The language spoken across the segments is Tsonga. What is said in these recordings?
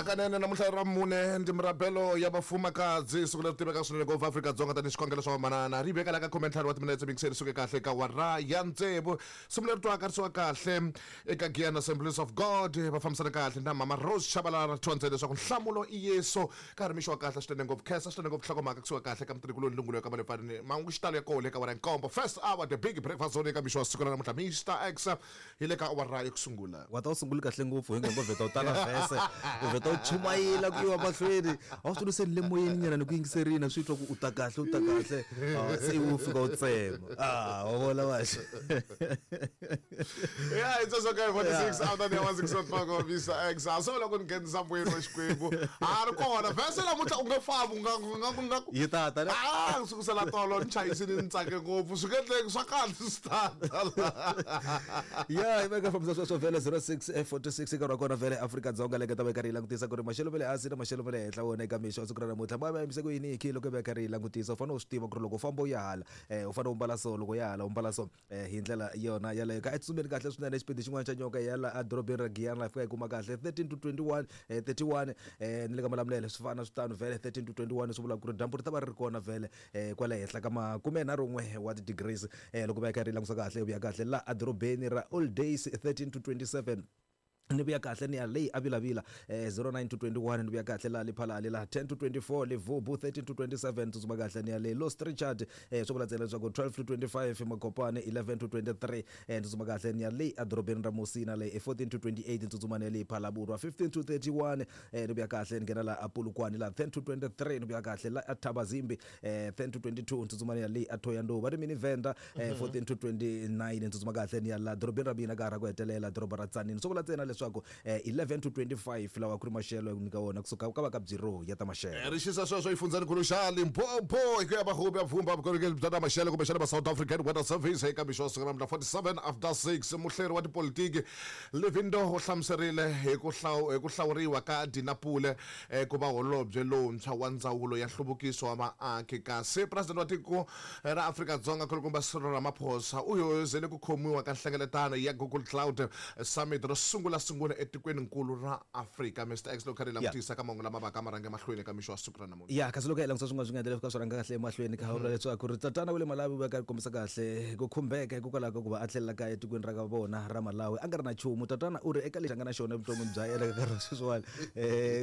Hakanene namuntlha ra mune ndi mirabelo ya vafumakadzi, siku leri tiveka swinene ngopfu Afrika-Dzonga tanihi xikhongelo swa vamanana. Ri veka la ka 15 wa timinetse mingiseri suke kahle ka wara ya tsevu. Simu leri twaka ri suka kahle eka Giyani Assemblies of God, va fambisana kahle na Mama Rose Chabalala thondzele leswaku nhlamulo i Yesu. Ka ha ri mixo wa kahle swinene ngopfu, khensa swinene ngopfu nhlokomhaka kusuka kahle ka mutirhikuloni Lungulo ya ka Malefanini. Mahungu xitalo ya kona eka wara ya nkombo. First hour the big breakfast zone eka mixo wa siku ra namuntlha Mister X hi le ka awara yo sungula. Wa ta u sunguli kahle ngopfu hi ngo vheta u tala vhese u vheta u chumayela ku yiwa mahlweni a wu swi tivi se ni le moyeni nyana ni ku yingiserini swi twa ku u ta kahle u ta kahle. Ah, se ivi u fika u tsema. Ah, wa vona vaxe. Yeah, it's also okay 46 out of the 6 o'clock of Mr. X. So loko ni nghenisa mbuyelo wa Xikwembu. A ri kona vhese namuntlha u nge fambi u nga u nga u nga Yi ta ta ne? Ah, sukusela tolo ni chayisini ni tsake ngopfu. Swi nge endleki swa kahle swi ta ta. Ya, yi veka fambisa sweswo vhele 06 46 nkarhi wa kona vhele Afrika-Dzonga leyi nga ta va yi karhi yi langutisa ku ri maxelo ma le hansi na maxelo ma le henhla wona eka mixo wa siku ra namuntlha ma va yimise ku yini hi loko yi va yi karhi yi langutisa. U fanele u swi tiva ku ri loko u famba u ya hala u fanele u mbala so, loko u ya hala u mbala so. Hi ndlela yona yaleyo ka etsutsumeni kahle swinene xipidi xin'wana xa nyoka ya la edorobeni ra Giyani la fika yi kuma kahle 13 to 21 31 ni le ka Malamulele swi fana swi tano vhele 13 to 21 swi vula ku ri dyambu ri ta va ri ri kona vhele kwale henhla ka makumenharhun'we wa ti-degrees loko va ya karhi yi langusa kahle yi vuya kahle la edorobeni ra Old Days 13 to 27. Ni vuya kahle ni ya leyi a Vilavila 09 to 21, ni vuya kahle la Lephalale la 10 to 24, Levubu 13 to 27, tsutsuma kahle ni ya le Los Richard swi vula ntsena leswaku 12 to 25, Makopane 11 to 23, tsutsuma kahle ni ya leyi edorobeni ra Musina le 14 to 28, tsutsuma ni ya le Phalaborwa 15 to 31, ni vuya kahle ni nghena la Polokwane la 10 to 23, ni vuya kahle la Thabazimbi 10 to 22, tsutsuma ni ya le Thohoyandou va ri mini Venda 14 to 29, tsutsuma kahle ni ya la dorobeni ra mina ka ha ra ku hetelela doroba ra Tzaneen. Swo vula ntsena leswaku 11 to 25 lawa ku ri maxelo ya ku nyika wona kusuka ka va ka Bureau ya ta maxelo. Ri xisa sweswo exifundzhenikulu xa Limpopo hi ku ya vahuvi ya vumba vukorhokeri bya ta maxelo kumbexana va South African Weather Service eka mixo wa siku ra namuntlha 47 after 6. Muhleri wa tipolitiki Livindo u hlamuserile hi ku hi ku hlawuriwa ka Dina Pule ku va holobye lowuntshwa wa Ndzawulo ya Nhluvukiso wa Vaaki kasi President wa tiko ra Afrika-Dzonga Nkulukumba Cyril Ramaphosa u hoyozele ku khomiwa ka nhlengeletano ya Google Cloud Summit ro sungula-sungula etikweni-nkulu ra Afrika. Mister X loko kha ri langutisa ka mahungu lama vaka ma rhange emahlweni eka mixo wa siku ra namuntlha. Ya, kasi loko hi langutisa swin'wana swi nga endla leswi ka swi rhanga kahle emahlweni kha vula leswaku ri tatana wa le Malawi u veka a kombisa kahle ku khumbeka hikokwalaho ka ku va a tlhelela kaya etikweni ra ka vona ra Malawi a nga ri na nchumu. Tatana u ri eka lexi a nga na xona evuton'wini bya yena ka nkarhi wa sweswiwani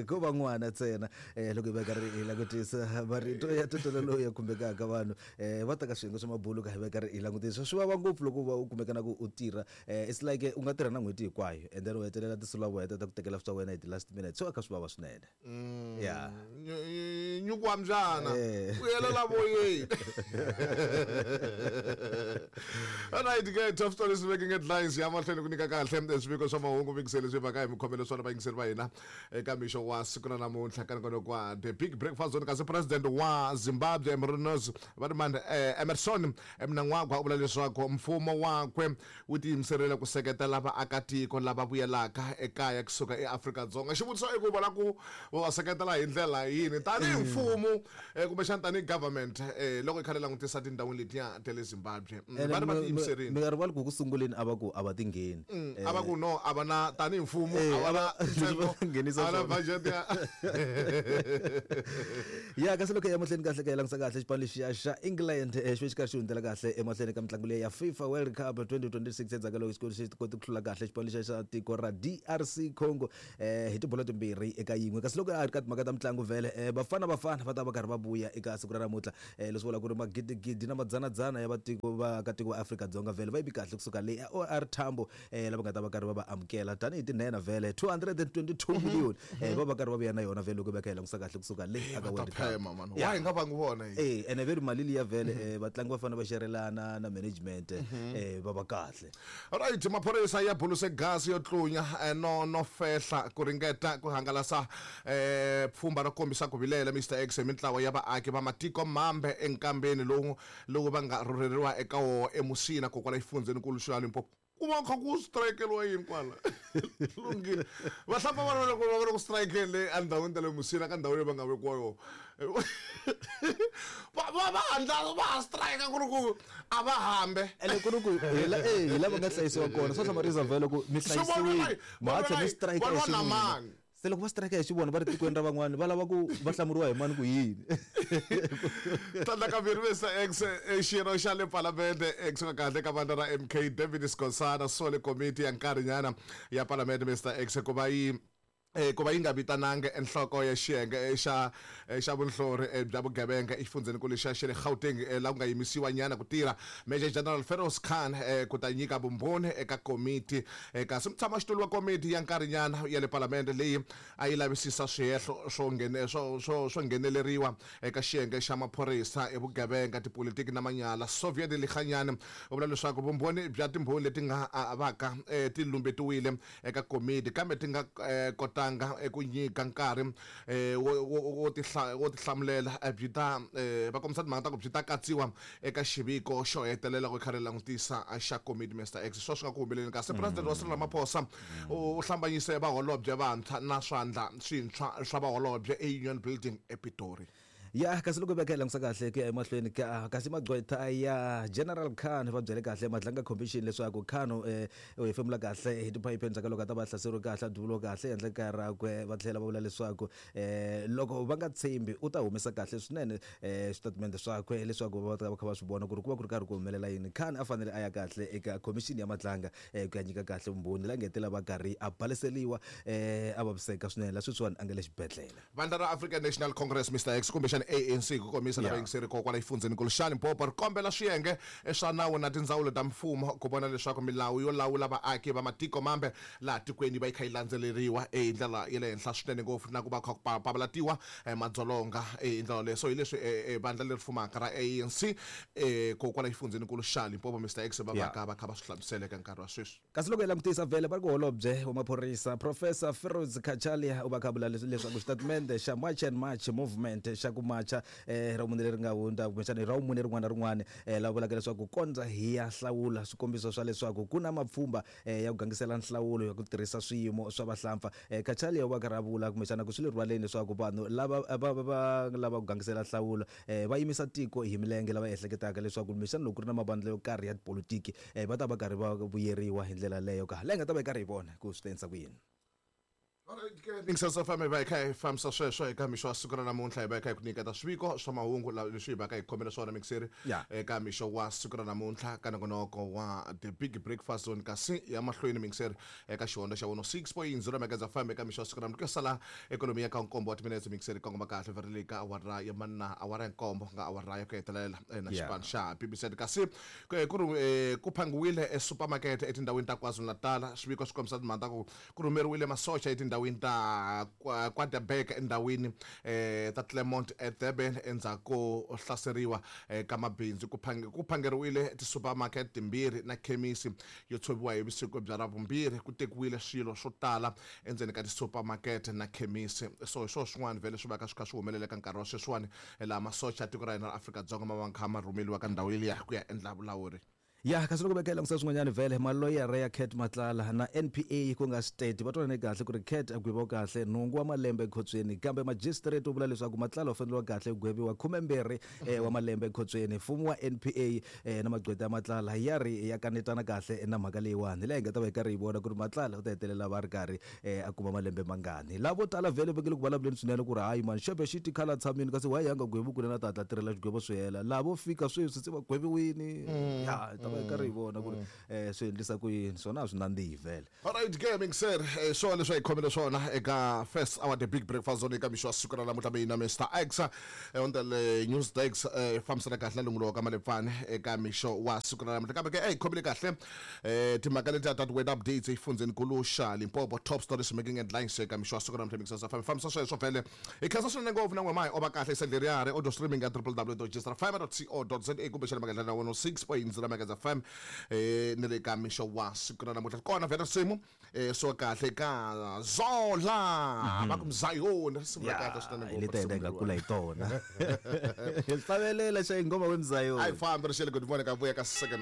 ko va n'wana ntsena. Loko hi va karhi hi langutisa marito ya tatana lowu ya khumbekaka vanhu va ta ka swiyenge swa mabulu ka hi va karhi hi langutisa swi vava ngopfu loko u va u kumeka na ku u tirha it's like u nga tirha na n'hweti hinkwayo and then u hetelela tinsulavoya ta ku tekela swa wena hi ti-last minute swi va kha swi vava swinene. Ya. Nyuku wa mbyana u yelela voyeni. Alright ke, top stories making headlines ya mahlweni ku nyika kahle swiviko swa mahungu vingiseli swi vaka hi mikhomelo swona vayingiseri va hina eka mixo wa siku ra namuntlha ka nongonoko wa The Big Breakfast Zone. Kasi President wa Zimbabwe Emronos va ri mani Emmerson Mnangagwa u vula leswaku mfumo wakwe wu tiyimiserile ku seketela vaakatiko lava vuyelaka ekaya kusuka eAfrika-Dzonga. Xivutiso i ku va la ku va va seketela hi ndlela yini tanihi mfumo kumbexana tanihi government loko hi kha ri langutisa tindhawini letiya ta le Zimbabwe. Va ri va tiyimiserile. Mi nga rivali ku ku sunguleni a va ku a va ti ngheni. A va ku no a va na tanihi mfumo a va na ntsengo nghenisa a va na swona. budget ya Ya kasi loko hi ya mahlweni kahle ka hi langutisa kahle xipano lexiya xa England xi ve xi karhi xi hundzela kahle emahlweni ka mitlangu leyi ya FIFA World Cup 2026 endzhaku ka loko xi xi kote ku hlula kahle xipano lexiya xa tiko ra DRC Congo hi tibolo timbirhi eka yin'we. Kasi loko a ri ka timhaka ta mitlangu vhele Bafana Bafana va ta va karhi va vuya eka siku ra namuntlha leswi vulaka ku ri magidigidi na madzanadzana ya vatiko vaakatiko va Afrika-Dzonga vhele va yimi kahle kusuka le OR Tambo lava nga ta va karhi va va amukela tanihi tinhenha vhele 222 million va va karhi va vuya na yona vhele loko va kha hi langusa kahle kusuka le aka Va ta World Cup. phema mani wa hi nga vangi vona hi. Ene ve ri mali liya vhele vatlangi va fanele va xerelana na management va va kahle. Right, maphorisa ya buluse gasi yo tlunya no fehla ku ringeta ku hangalasa pfhumba ro kombisa ku vilela Mister X hi mintlawa ya vaaki va matiko mambe enkambeni lowu lowu va nga rhurheriwa eka woho eMusina kokwala exifundzhenikulu xa Limpopo. Ku va kha ku strikeriwa yini kwala? Lunghile. Vahlapfa va loko va ri ku strikeni le endhawini ta le Musina ka ndhawu leyi va nga vekiwa yona. Va va va handla va ha strike ku ri ku a va hambe. Ene ku ri ku hi la hi la va nga hlayisiwa kona swa hlamarisa vhele ku mi hlayisiwile ma ha tlhela mi strike Va lwa na xin'wini. mani? Se Se loko va strike hi xivona va ri tikweni ra van'wani va lava ku va hlamuriwa hi mani ku yini? Tlhandlakambirhi Mr X, xirho xa le Palamende ekusuka kahle ka vandla ra MK David Skosana sole komiti ya nkarhinyana ya Palamende Mr X ku va yi ku va yi nga vitananga enhloko ya xiyenge xa xa vunhlori bya vugevenga exifundzhenikulu xa xa le Gauteng laha ku nga yimisiwa nyana ku tirha Major General Feroz Khan ku ta nyika vumbhoni eka komiti. Kasi mutshamaxitulu wa komiti ya nkarhinyana ya le Palamende leyi a yi lavisisa swihehlo swo swo swo swo ngheneleriwa eka xiyenge xa maphorisa hi vugevenga, tipolitiki na manyala, Soviet Lekganyane u vula leswaku vumbhoni bya timbhoni leti nga vaka ti lumbetiwile eka komiti kambe ti nga kotanga ku nyika nkarhi wo wo tihlamulela byi ta va kombisa timhaka ta ku byi ta katsiwa eka xiviko xo hetelela ku kha ri langutisa xa komiti. Mr X, swo swi nga ku humeleleni kasi President wa Cyril Ramaphosa u hlambanyise vaholobye vantshwa na swandla swintshwa swa vaholobye eUnion Building ePitori. Ya, kasi loko hi veka hi langutisa kahle ku ya emahlweni ka kasi magqwetha ya General Khan va byele kahle Madlanga Commission leswaku Khan u hefemula kahle hi tiphayiphi endzhaku ka loko a ta va a hlaseriwe kahle a duvuriwe kahle ehenhla kaya rakwe. Va tlhela va vula leswaku loko va nga tshembi u ta humesa kahle swinene switatimende swakwe leswaku va ta va kha va swi vona ku ri ku va ku ri karhi ku humelela yini. Khan a fanele a ya kahle eka khomixini ya Madlanga ku ya nyika kahle vumbhoni la ngetela va karhi a baleseliwa a vaviseka swinene la sweswiwani a nga le xibedhlele. Vandla ra African National Congress, Mister X, kumbexana ANC hi ku komisa lava yingiseri ko kwala xifundzhenikulu xa Limpopo ri kombela swiyenge swa nawu na tindzawulo ta mfumo ku vona leswaku milawu yo lawula vaaki va matiko mambe laha tikweni yi va yi kha yi landzeleriwa hi ndlela ya le henhla swinene ngopfu na ku va kha ku papalatiwa madzolonga hi ndlela yoleyo. So hi leswi vandla leri fumaka ra ANC ko kwala xifundzhenikulu xa Limpopo, Mister X, va va ka va kha va swi hlamusela eka nkarhi wa sweswi. Kasi loko hi langutisa vhele va ri ku holobye wa maphorisa Professor Firoz Cachalia u va kha vula leswaku xitatimende xa March and March movement xa ku macha ra vumune leri nga hundza kumbexana ra vumune rin'wana na rin'wana lava vulaka leswaku kondza hi ya hlawula swikombiso swa leswaku ku na mapfhumba ya ku gangisela nhlawulo ya ku tirhisa swiyimo swa vahlampfa. Cachalia u va karhi a vula kumbexana ku swi le rivaleni leswaku vanhu lava va va lava ku gangisela nhlawulo va yimisa tiko hi milenge lava ehleketaka leswaku kumbexana loko ku ri na mavandla yo karhi ya tipolitiki va ta va karhi va vuyeriwa hi ndlela leyo ka leyi nga ta va yi karhi hi vona ku swi ta endlisa ku yini. Mixers FM hi va hi kha hi fambisa sweswo eka mixo wa siku ra namuntlha, hi va hi kha hi ku nyiketa swiviko swa mahungu leswi hi va ka hi khomele swona mixeri eka mixo wa siku ra namuntlha ka nongonoko wa The Big Breakfast Zone. Kasi ya mahlweni mixeri eka xihondzo xa 106.0 Megahertz FM eka mixo wa siku ra namuntlha ku ya sala ikhonomi ya ka nkombo wa timinetse mixeri kongoma kahle vheri ka awara ya manna awara ya nkombo nga awara ya ku hetelela na xipano xa BBC. Kasi ku ri ku phangiwile esupermarket etindhawini ta KwaZulu-Natal, swiviko swi kombisa timhaka ta ku ku rhumeriwile masocha etindhawini ta KwaDabeka endhawini ta Claremont eDurban endzhaku ko hlaseriwa ka mabindzu. Ku ku phangeriwile ti-supermarket timbirhi na khemisi yo tshoviwa hi vusiku bya Ravumbirhi. Ku tekiwile swilo swo tala endzeni ka ti-supermarket na khemisi. So hi swona swin'wana vhele swi va ka swi kha swi humelela eka nkarhi wa sweswiwani laha masocha ya tiko ra hina ra Afrika-Dzonga ma va kha ma rhumeliwa ka ndhawu liya ku ya endla vulawuri. Ya, kasi loko veka hi langutisa swin'wanyana vhele maloyara ya Cat Matlala na NPA ku nga state va twanane kahle ku ri Cat a gweviwa kahle nhungu wa malembe ekhotsweni, kambe magistrate u vula leswaku Matlala u faneriwa kahle ku gweviwa 12 wa malembe ekhotsweni. Mfumo wa NPA na magqweta ya Matlala ya ri ya kanetana kahle na mhaka leyiwani, leyi hi nga ta va hi karhi hi vona ku ri Matlala u ta hetelela va ri karhi a kuma malembe mangani. Lavo tala vhele va nge le ku vulavuleni swinene ku ri hayi mani xebe xi ti khala tshamini kasi why a nga gweviwi kunene a ta hatla tirhela xigwevo swi hela. Lavo fika sweswi se va gweviwini. Ya, hi ta va hi karhi hi vona ku ri swi endlisa ku yini, swona a swi nandzihi vhele. Alright ke mixer, swona leswi a hi khomele swona eka first hour The Big Breakfast Zone eka mixo wa siku ra namuntlha. Mina Mr X on the news desk fambisana kahle na lungulo ka Malepfane eka mixo wa siku ra namuntlha. Kambe ke hi khomile kahle timhaka letiya ta ti-weather updates exifundzhenikulu xa Limpopo, top stories making headlines eka mixo wa siku ra namuntlha. Mixer sa fambisa sweswo vhele hi khensa swinene ngopfu na n'we mahi o va kahle isendleriyari audio streaming ya www.gsrfm.co.za kumbe xana makendla na 106.0 Megahertz FM ni le ka mixo wa siku ra namuntlha. Kona vhele risimu swo kahle ka Zola va ku Mzayoni, risimu ra kahle swinene ngopfu. Leti hina hi nga kula hi tona. Hi hlavelela xa ingoma we Mzayoni. A hi fambi ri xele good morning ka vuya ka second.